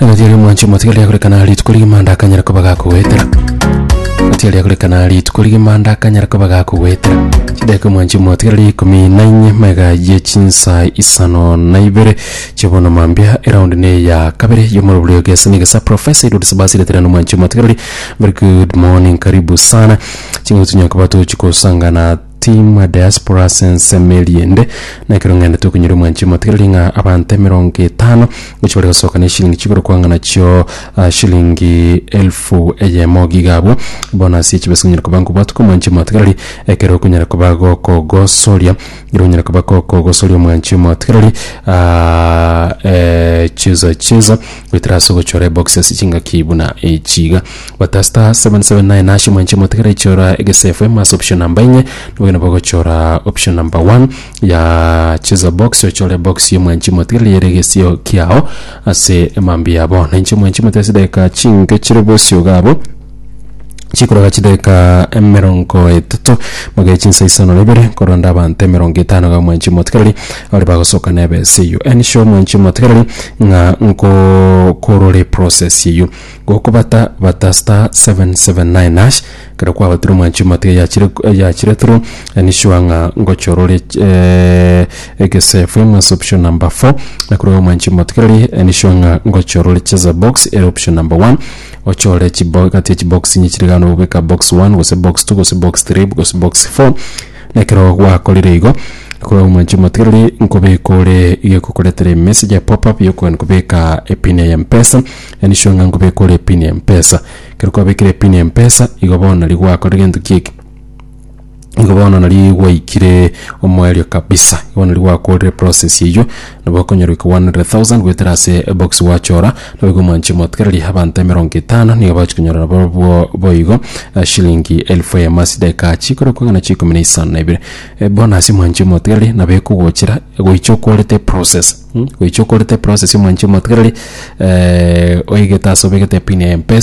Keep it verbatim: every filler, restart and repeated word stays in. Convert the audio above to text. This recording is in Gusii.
Nagatiari omwanchi omotigari akorekana rituko rigima ndakanyara koba gakogwetera. Gatiari akorekana rituko rigima ndakanyara koba gakogwetera. Chidakika, omwanchi omotigari, ikomi na inye mega ye chinsa isano na ibere chibono mambia, eraundi ne ya kabere yomorobori ogesa nigesa Professor Edward Sabasi retera nomwanchi omotigari. Very good morning, karibu sana. Chingo tunyakoba tuchikosangana team diaspora sensemeriende nekero ng'ende tukunyira, omwanchi omotigareri, ng'a abanto emerongo etano gochi bari gosoka na eshilingi chigoro kwang'ana chio ah, shilingi elfu eyemo gigabwo bonus echibesa konyara koba nkobwatuka, omwanchi omotigareri, ekero okonyara koba gokogosoria, ekero onyara koba gokogosoria, omwanchi omotigareri, ah, eh, cheza cheza goetera ase ogochora eboxes chingaki buna echiga bata star seven seven nine hash. Omwanchi omotigareri, chora Egesa F M ase option number inye, nobogenda bogochora option number one ya cheza box, ochore box y'omwanchi omotigareri yere egesio kiao ase emambi yabo. Nainche, omwanchi omotigareri, chidakika chinke chire bosio gabo chikoroga chidakika emerongo etato mage chinsa isano na ibere koronda abanto emerongo etano ga omwanchi omotigareri bari bagosoka na ebesa eywo. Ensure, omwanchi omotigareri, ng'a nkokorore process eywo gokobata bata star seven seven nine hash. Kero kwabatire, omwanchi omotigareri, yachire yachire through, ensure ng'a ngochorore eh, Egesa F M ase option number four, na korwa omwanchi omotigareri, ensure ng'a ngochorore cheza box ere option number one, ochore chibo gati ya chibox inye chiri gano, obeka box one gose box two gose box three gose box four. Nekero gwakorire igo, korwa omwanchi omotigareri, nkobeka ore igekokoretera emessage ya pop up yokogenda kobeka epin ya M-Pesa. Ensure ng'a nkobeka ore epin ya M-Pesa. Ekero kwabekire epin ya M-Pesa igo, bono nari gwakorire gento kieki igo, bono nari gwaikire omoerio kabisa. Igo nari gwakorire process eywo, nabo okonyora goika one hundred thousand goetera ase ebox gwachora. Nabo igo, omwanchi omotigareri, abanto emerongo etano nigo bachi konyora nabo boigo eh, shilingi elfu eyemo ase dakika chikoro kong'ana chikumi na isano na ibere. Eh, bonus, omwanchi omotigareri, nabo ekogochera goicha okorete process, mm? Goicha okorete process, omwanchi omotigareri, eh, oigete ase obegete epin ya M-Pesa.